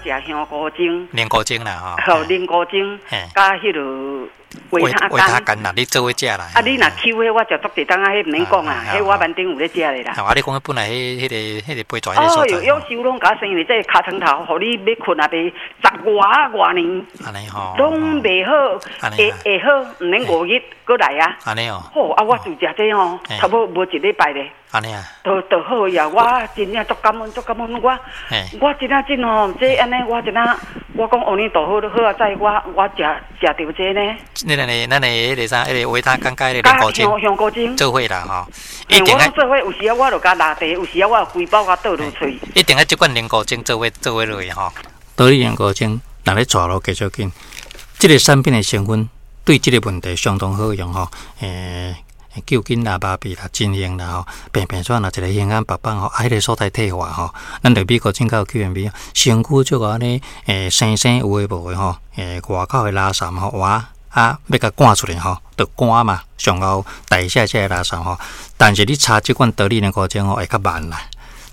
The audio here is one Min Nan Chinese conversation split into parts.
食香菇精，龍菇精啦吼，吼，龍菇精，佮彼落維他維他乾啦，你做伙食啦。啊，你若搝彼我食足濟冬仔，彼毋免講啊，彼我挽頂有咧食的啦。啊，你講彼本來彼個肥跩彼個所在。哦喲，養壽攏共生，因為這尻川頭，予你欲睏也袂十外外年，按呢吼，攏袂好，會會好，毋免5日閣來啊。按呢哦。好，啊，我自食這吼，差不多無一禮拜咧。按呢啊。就就好呀！我真正足感恩，足感恩我。我真正真吼，這按呢，我真正，我講阿彌陀佛，好啊，在我我食食著這呢。你咱的咱的彼個啥，彼個維他乾佮彼個龍骨精，香菇精做伙啦吼。一定愛做伙，有時仔我就共抐茶，有時仔我就規包共倒落喙。一定愛這款龍骨精做伙做伙落去吼。得力龍骨精，若咧帶路繼續緊，這個產品的成分對這個問題相當好用吼。救緊啦、麻痹啦、真用啦吼，平平喘啦，一个胸腔白放吼，啊，彼个所在退化吼，咱著美國進口 Q&B，身軀足按呢，生生有的無的吼，外口的垃圾吼，哇，啊，欲共趕出來吼，著肝嘛，上後代謝這个垃圾吼，但是你搽這款得力龍骨精吼，會較慢啦，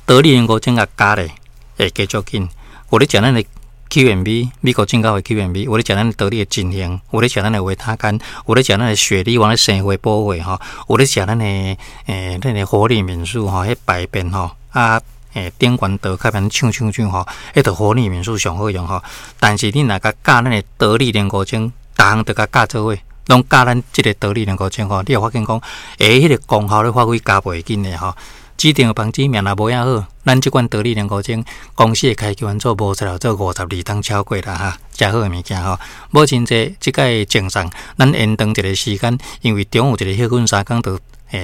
得力龍骨精共加咧，會加足緊，有咧食咱的 Q&B，美國進口的 Q&B，有咧食咱得力的真興，有咧食咱的維他乾，有咧食咱的雪梨丸的生花補血吼，有咧食咱的咱的活力敏素吼，彼排便吼啊頂懸倒較免搶搶搶吼，彼著活力敏素上好用吼。但是你若共加咱的得力龍骨精，逐項都共加做伙，攏加咱這个得力龍骨精吼，你會發現講，彼个功效咧發揮加倍緊的吼。指定房子命若無遐好，咱這款得力龍骨精公司的開機關做無材料做52冬超過啦哈，誠好的物件吼。母親節這擺贈送，咱延長一个時間，因為中午一个歇睏3工就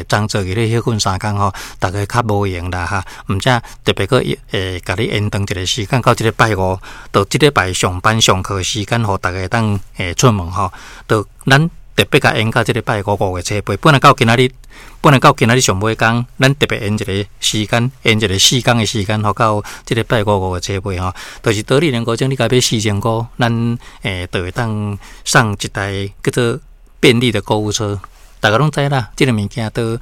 張做去咧歇睏3工吼，逐家較無閒啦哈。毋才特別閣共你延長一个時間到這个拜五，就這禮拜上班上課時間，予逐家會當出門吼，就咱特別共延到這个拜五5月初8，本來到今仔日，本來到今仔日上尾工，咱特別延一个時間，延一个4工的時間，予到這个拜五5月初8吼，就是得力龍骨精，你共買4000箍，咱就會當送一台叫做便利的購物車。逐家攏知啦，這个物件都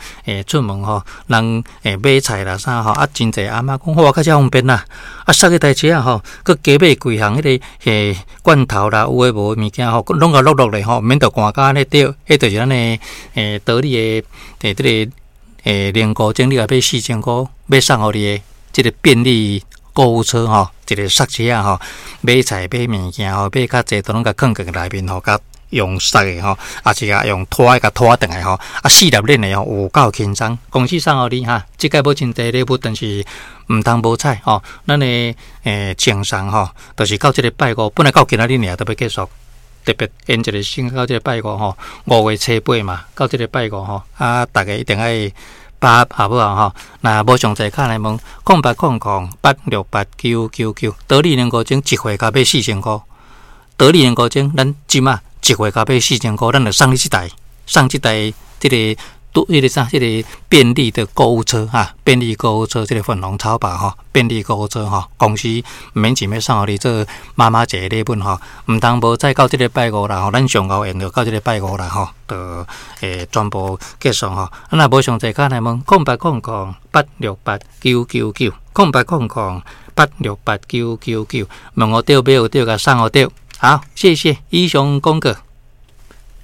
出門吼，人買菜啦啥吼，啊真濟阿嬤講，哇，較遮方便啦，啊捒彼台車仔吼，閣加買幾項彼个罐頭啦，有的無的物件吼，攏共落落來吼，毋免著寒甲按呢對，彼就是咱的得力的這个龍骨精，你共買4000箍，欲送予你的這个便利購物車吼，一个捒車仔吼，買菜買物件吼，買較濟都攏共囥佇內面吼，共用捒的吼，抑是共用拖的共拖轉來吼，啊四粒鏈的吼，有夠輕鬆。公司送予你哈，這擺母親節禮物，但是毋通無彩吼。咱的贈送吼，就是到這个拜五，本來到今仔日爾都欲結束，特別延一个時間到這個拜五吼，5月初8嘛，到這个拜五吼，啊，逐家一定愛把握好無吼？若無詳細敲來問，0800868999，得力龍骨精一回共買四千箍，得力龍骨精，咱這馬一回共買四千箍，咱就送你這台，送這台這个都彼个啥，這个便利的購物車哈，便利購物車，這个粉紅超跑吼，便利購物車吼，公司毋免錢欲送予你做媽媽節的禮物吼，毋通無再到這个拜五啦吼，咱上後延著到這个拜五啦吼，就全部結束吼。啊，若無詳細敲來問，0800868999，0800868999，問予著買予著，共送予著。好，謝謝，以上廣告。